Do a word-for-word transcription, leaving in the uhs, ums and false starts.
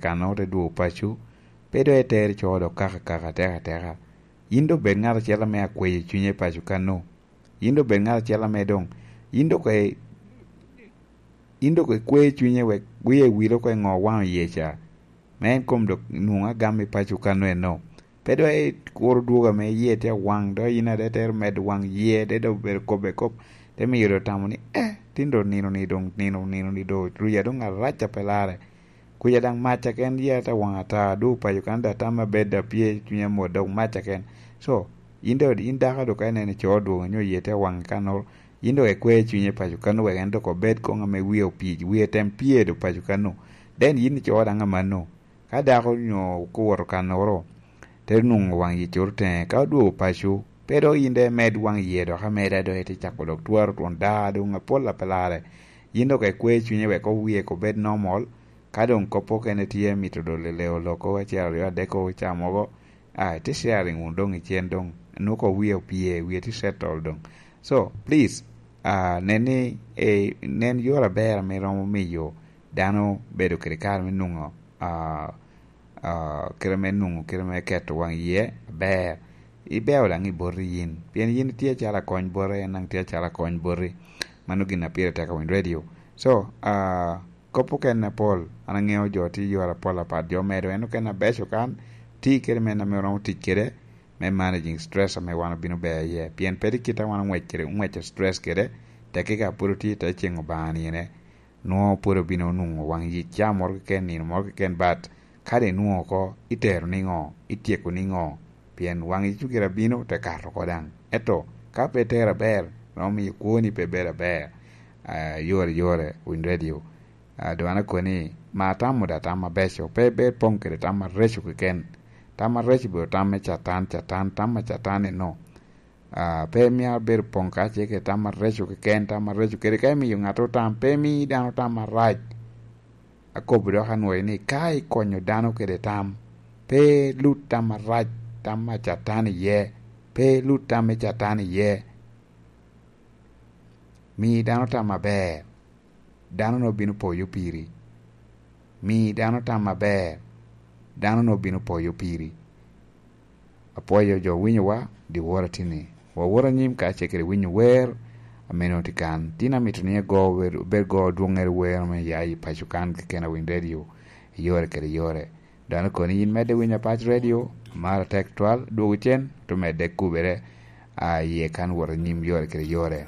kan ote dwogo paco, pe dok itere co dok kaka kaka ateka ateka. Yin dok bed ngat acel ame akweyo cunye i paco kano. Yin dok bed ngat acel ame dong, yin dok e, yin dok ikwe cunye wek wie wilo ko i ŋo waŋ oye ca. Me en kom dok nwoŋo agam i paco kano eno. Pe dok ikuro dwogo ame iye tye awaŋ, dok yin ade tero medo waŋ iye, de dok bedo kobbe kop, te miyo dok tamo ni, eh, tin dok nino ni dong, nino, nino ni dong, ruya dong arac a pe larre. Kuca daŋ mac aken ye te waŋ ata, dwogo paco kan daŋ tam abed a pye cunya mot dok mac aken. So, yin dok, yin dako dok ka ineno ico odwogo nyo ye te waŋ kanoro, yin dok ikwe cunye paco kano wek en dok obed koŋ ame wie opic, wie tem pye dok paco kano. Then yin ico daŋ amano. Ka dako nyo kowoto kanoro, te nwoŋo waŋ yi coro teŋe, ka odwogo paco, pe dok yin de imed waŋ iye dok ameda dok ite cako dok twaro twon da doŋ apol a pe larre. Yin dok ikwe cunye wek owie ko bed normal, ka doŋ kop okene tye mito dole leo loko acel aryo adek ko ca mogo, ah, ite sharing wun doŋ icen doŋ, nwoŋo ko wie opye, wie tye settle doŋ. So, please, ah, nen ni, eh, nen yore aber ame romo miyo dano bedo kede kare me nwoŋo, ah, ah, kite me nwoŋo, kite me keto waŋ iye aber. Ibeo daŋ i boti yin, pien yin itye acalo akony bote, en daŋ tye acalo akony boti. Mano gin a pire tek awiny redio. So, ah, kop okene apol, an aŋeo jo tye yore apol apat, jo medo en okene abeco kan, ti kede men ame romo tic kede, me managing stress ame wan obino ber iye. Pien pe tye kit a wan oŋwec kede, oŋweco stress kede, tekki ka pwod otye i te ceŋ Obaŋa nine, nwoŋo pwod obino nwoŋo waŋ yic ca moro keken, nino moro keken, but ka dong inwoŋo oko, itero niŋo? Ityeko niŋo? Pien waŋ yic gire abino, te kato oko daŋ. Ento ka pe itero aber, romo miyo kwoni pe bedo aber. Ah, yore, yore, winy redio. Ah, doŋ an akoni, ma atamo da tam abeco, pe, pe poŋ kede tam areco keken. Tam areco obedo tam me Catan, Catan, tam a Catan eno. Ah, pe myero abedo poŋ ka ce kede tam areco keken, tam areco kede ka imiyo ŋat otam, pe imi dano tam arac. Akobo dok anwoyo ni ka ikonyo dano kede tam, pe lut tam arac, tam a Catan iye, pe lut tam me Catan iye. Mi dano tam aber, dano-nu obino poyo piri. Mi dano tam aber, dano-nu obino poyo piri. Apwoyo jo winyowa, dyewor atini. Wawot anyim ka ce kede winyo wer, ame nwoŋo tye kan. Tin amito ni ago wer, obed go dwoŋŋere wer ame ya i paco kan keken a Winy Radio, i yore kede yore. Dano koni yin medde winyo Apac Radio, amaro tek twal, dwogo cen, to medde kubere, a, iye kan wot anyim yore kede yore.